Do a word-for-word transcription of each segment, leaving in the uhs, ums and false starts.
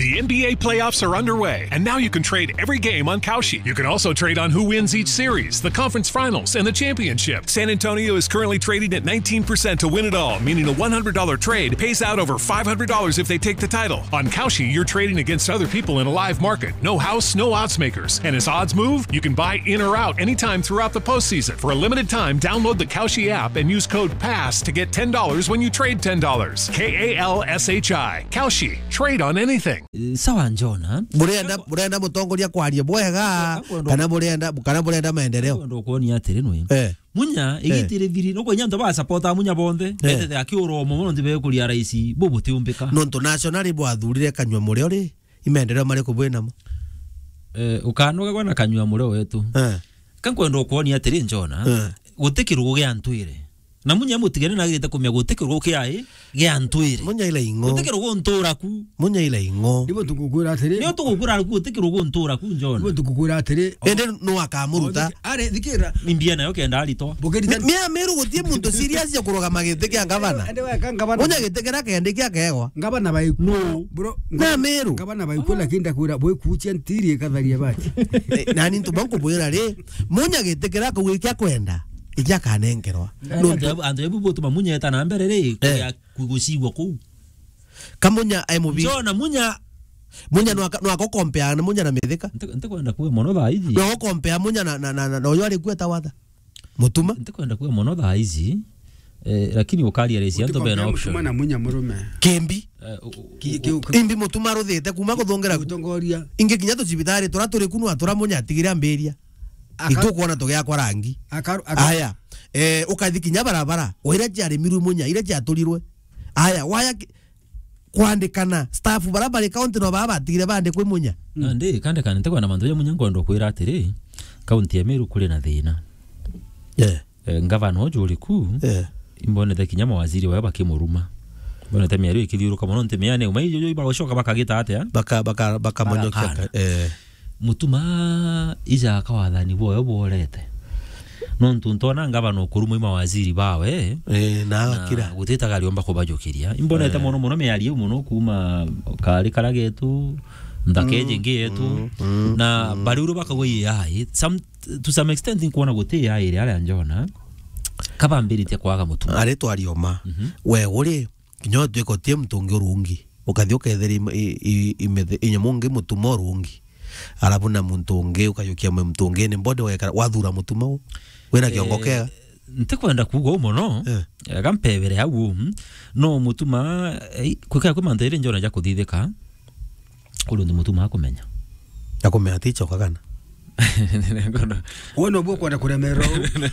The N B A playoffs are underway, and now you can trade every game on Kalshi. You can also trade on who wins each series, the conference finals, and the championship. San Antonio is currently trading at nineteen percent to win it all, meaning a one hundred dollar trade pays out over five hundred dollars if they take the title. On Kalshi, you're trading against other people in a live market. No house, no odds makers. And as odds move, you can buy in or out anytime throughout the postseason. For a limited time, download the Kalshi app and use code pass to get ten dollars when you trade ten dollars. K A L S H I. Kalshi. Trade on anything. Eh, sawa, Njona. Burenda, burenda mutongoria kwaria bwega, Ka-, ka-, kana burenda, kana burenda maendeleo? Kwenda kuonia atiri nwe. Eh. Munya, eh, igitire thiri, no kwenya antu ba support a Munya bonthe, eh, betete akiurwo mono nti bekuria raisi, bubutiumbika. Nontu nationally bwathurire Kanyua Murio ri, imaendeleo mariku bwinamo? Eh, ukanoga gwa na Kanyua Murio wetu. Eh. Ka nkwenda kuonia atiri, Njona, eh, guti kirugu gia ntwire. Na Munya mutigane na agirite kumenya guti kirugu kiai gia ntwire. Munya ila ing'o. Guti kirugu ntura ku. Munya ila ing'o. Nibo tukukwira atiri. Nio tugukwira ku guti kirugu ntura ku, Njona. Nibo tukukwira atiri. Ende no akamuruta. Are, thikira. Ni mbia nayo kenda aritwa. Bukerita. Mi-, mia Meru gutie muntu serious ya kurugama giti kia ngavana. Ende weka ngavana. Munya giti kira kendi kia kegwa. Ngavana baiku. No. Bro, na Meru. Ngavana baiku, lakini ndakwira bwikuchia ntiri ikatharia bati. Eh, nani ntu bankubwira ri, Munya giti kira kau ikia kwenda, ikia kanengerwa. Nontu antu ebu butuma Munya eta na mbere ri, eh, kuya ku-, gucigwa kuu. Ka Munya ai mubi. Njona Munya. Munya nwaka, nwaka ukompea na Munya na Mithika. Nti-, ntikwenda kuga mono thaa iji. Nwaka ukompea Munya na, na, na, na, na uyu ari kueta watha. Mutuma. Ntikwenda kuga mono thaa iji, eh, lakini ukaria resi antu bena option. Mutuma na Munya murume. Kimbi. Eh, u-, u-, ki-, ki-, u-, Imbi Mutuma aruthite kuma kuthongera ku-, gutongoria. Ingi kinya tucibitari tura turi ku nwa tura Munya atigire ambiria. Aka-, itukwona tugiakwa rangi. Akaru-, aka- Aya. Eh, ukathi kinya barabara. O iria ciarimirwe Munya, iria ciaturirwe. Aya, waya ki-, kwandikana, staff bara bari county no baba batigire bandikwe Munya. Mm. Nandi, kandikana, ntikwenda mantu ja Munya, nkwenda kwira atiri, county ya Meru kuri na thina. Eh. Eh, ngavana uju uri ku, eh, imbonete kinya mawaziri bawe bakimuruma. Imbonete miario ikithiuruka mono nti miane, uma ijo, ijo bagucoka bakagita atia? Baka-, baka-, bakamonyokia. Bagakana. Ka-, eh. Mutuma ija kawathani bwayo bworete. Nontu ntona ngavana ukurumwa i mawaziri bawe, eh, na agakira. Gutitaga ariomba kubajukiria. Imbonete, eh, mono mono miario mono kuma kari kara getu, nthaka, mm, iji ingi yetu. Mm, mm, na, mm, bari uru bakauga i A I. Some, to some extent nkwona guti A I iri aria Njona. Kabambiritie kwaga Mutuma. Ari twarioma. Mhm. We uri, kinya utwika utie muntu ungi urungi. Ukathi ukethira im-, i-, i-, imethe-, inyamu ungi Mutuma urungi. Alafu na muntu ungi, ukajukia mwe muntu ungi, ni body wekara, wathura Mutuma u. Wina kiongo, eh, kega. Ntikwenda kuuga uu mono. Eh. Ega mpebere au uu. No Mutuma, eh, kwika kwi mantu iri Njona ja kuthithika. Kuri untu Mutuma akumenya. Akumenya atichoka kana? Ngono. We no bwo kwenda kuremererwa uu.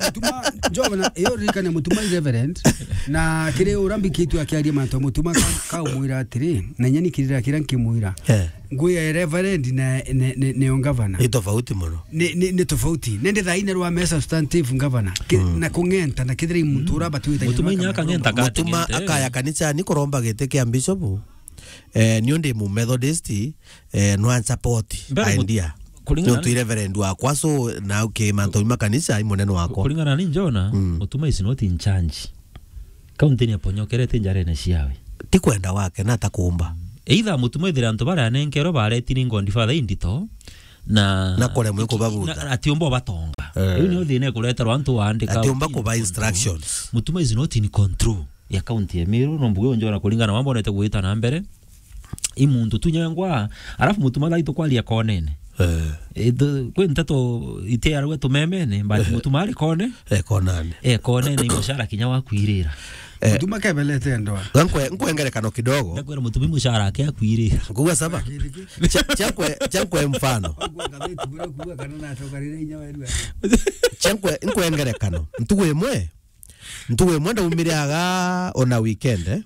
Mutuma, Njona, iyo ririkane Mutuma i reverend, na kiri uria mbikitue akiaria mantu a Mutuma ka-, kaumwira atiri, na inya ni kirira kiria nkimwira. Eh. Ngui ya reverend na, na, na, na ngavana. Ni tofauti mono. Ni, ni, ni tofauti. Nende thaine rwa me substantive ngavana. Ki-, mm, na kung'enta na kethira i muntu, mm, uria batuite Mutuma inya akang'enta. Mutuma akaya kanisa ni kuromba giti kia bishop. Eh, niu ndi mu Methodist, eh, no support idea. Mbere mut-, kuringana nontu ni reverend wakwa, so na ki mantu ma kanisa i munene wakwa. Kuringana ni Njona, mm, Mutuma is not in charge. County ni aponyokerete njarene ciawe. Ti kwenda wake, na atakumba. Either Mutuma ethire antu baria anenkerwe bareti ni Godfather indito, na, na kuremwe kubabuta. Na atiumba ubatonga. Eh. Riu niyo thina ikureterwa antu waandika. Atiumba kuba instructions. Mutuma is not in control ya county ya Meru, no mbuge unjona kuringana na wambonete gwita na mbere. I muntu tu nyangwa, alafu Mutuma thai tukwaria konene. Eh. Eh, tu-, kwi nteto itiarwe tumemene, but, eh, Mutuma ari kone. Eh, konane. Eh, konene, i mucara kinya wakwirira. Eh. Mutuma kebelete ndoa. Nkwe-, nkwe ngerekano kidogo. Ndakwira Mutuma i mucara ake akwirira. Nguga saba. Cha-, chakwe, chakwe mfano. Ngwa ngatheti bura kuga kana natokarire inya weru. Chakwe, nkwe ngerekano. Ntugu imwe, Ntugu imwe ndaumire aga ona weekend, eh.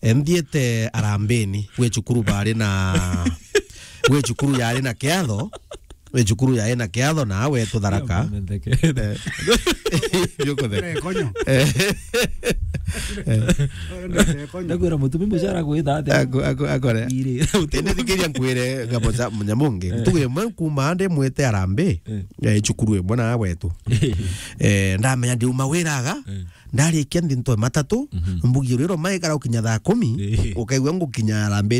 Eh, nthiite Arambini, gwi cukuru bari na, gwi cukuru yari na kiatho, gwi cukuru yari na kiatho na wetu Tharaka. Ndio, mendeke. Eh. Ndio kutheka. Eh, konyo. Eh. Konyo. Ndakwira Mutuma i mucara gwita atia? Ako-, ako-, akore. Iri. Indi thikiria nkwire ngabo za Munyamungi. Eh. Ntugu imwe kuma ndi mwite Arambi. Eh. Eh, cukuru imwe na wetu. Eh, ndamenya ndiuma wira aga, eh, ndarikia nthi ntoe matatu, mhm, mbugi riro maikara ukinya thaa kumi, eh, ukaigua ngukinya Arambi